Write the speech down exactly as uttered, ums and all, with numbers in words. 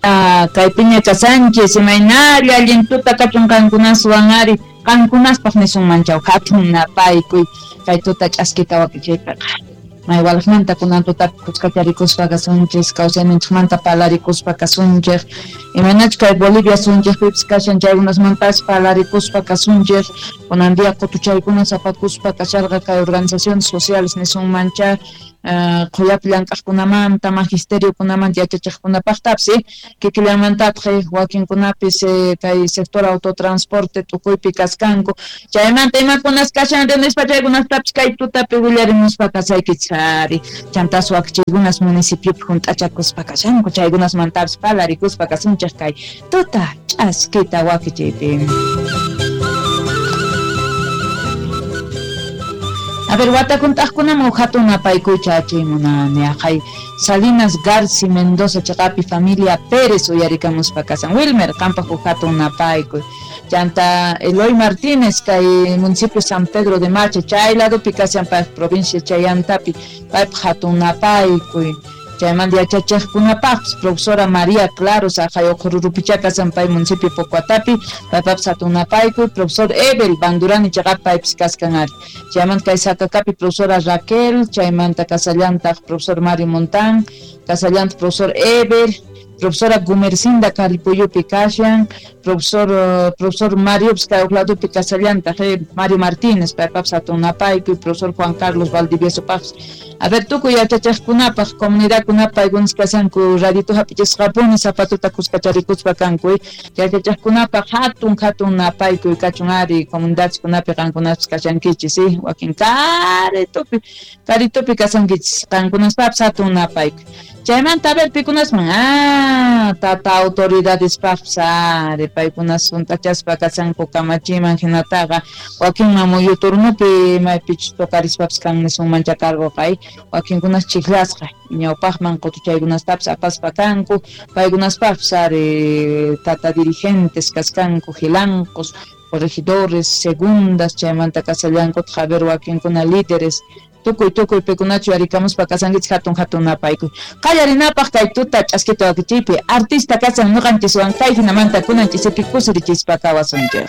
Kaypiña kashanchis, imaynalla allin tuta kachun qankunaswan ari, qankunaspaq nisunman chaw hatun napaykuy kay tuta ch'askita wakichiypiqa. Maywalaqmanta kunan tutapi kuskacharikuspa kasunchis, kawsayninchikmanta palarikuspa kasunchik, imaynachu kay Bolivia sunchikpipis kashan chaykunasmantas palarikuspa kasunchik, kunan día qutuchaykuna sapakuspa kasharqa kay organizaciones sociales nisunmancha, qhuyapi llank'aqkunamanta, magisteriokunamanta yachachiqkunapaqtapis, kikillanmantataq wakinkunapis kay sector autotransporte tukuypi kaskanku, chaymanta imakunas kashan nispa chaykunastapis kay tutapi willarimuspa kasaykichis ari, chantas wakichiykunas municipiopi hunt'achakuspa kashanku, chaykunasmantapis palarikuspa kasunchik kay tuta ch'askita wakichiypi. A ver, watakunt'aqkunaman hatun napaykuycha achimunani aqhay Salinas Garci Mendoza chaqapi familia Pérez uyarikamuspa kasan. Wilmer, qampaq huk hatun napaykuy. Chanta Eloy Martínez kay municipio San Pedro de Macha chay ladopi kashan payq provincia Chayantapi paypaq hatun napaykuy. Chaymanta yachachiqkunapaqpis profesora María Claros aqhay Uqhururupicha kasan pay municipio Pocuatapi paypapis hatun napaykuy. Profesor Ebel Bandurani chaqapi paypis kaskan ari. Chaymanta kay Sacacapi profesora Raquel, chaymanta kasallantaq profesor Mario Montán, kasallantaq profesor Ebel, profesora Gumercinda Caripuyupi kashan, profesor uh, profesor Mario kay uqladupi kasallantaq eh, Mario Martínez paypapis hatun napaykuy, profesor Juan Carlos Valdivieso paqpis. A ver, tukuy yachachiqkunapaq comunidadkunapaq paykunas kashanku radito hap'ichisqapuni zapatuta kuskacharikuspa kanku, yachachiqkunapaq hatun hatun napaykuy kachun ari comunidadkunapi qankunaspis kashankichis, eh, wakin karitupi karitupi kashankichis qankunaspapis hatun napaykuy. Chaymanta a ver pikunasman, ah, tata autoridadespaqpis ari paykunas hunt'achaspa kashanku kamachiman hinataqa wakinman muyu turnupi maypichus toqarispapis kan nisunman chakarquqa, wakinkunas chiklasqa ñawpaqman qutuchaykunastapis apaspa kanku, paykunaspaqpis ari tata dirigentes kaskanku jilancos, corregidores, segundas, chaymanta kasallankutaq a ver wakinkuna líderes, tukuy tukuy pikunachu yarikamuspa kasankichik hatun hatun napaykuy. Qallarinapaq kay tuta ch'askita wakichiypi artista kasan ñuqanchiswan kay hinamanta kunan ch'isipi kusirichispa kawasunchik.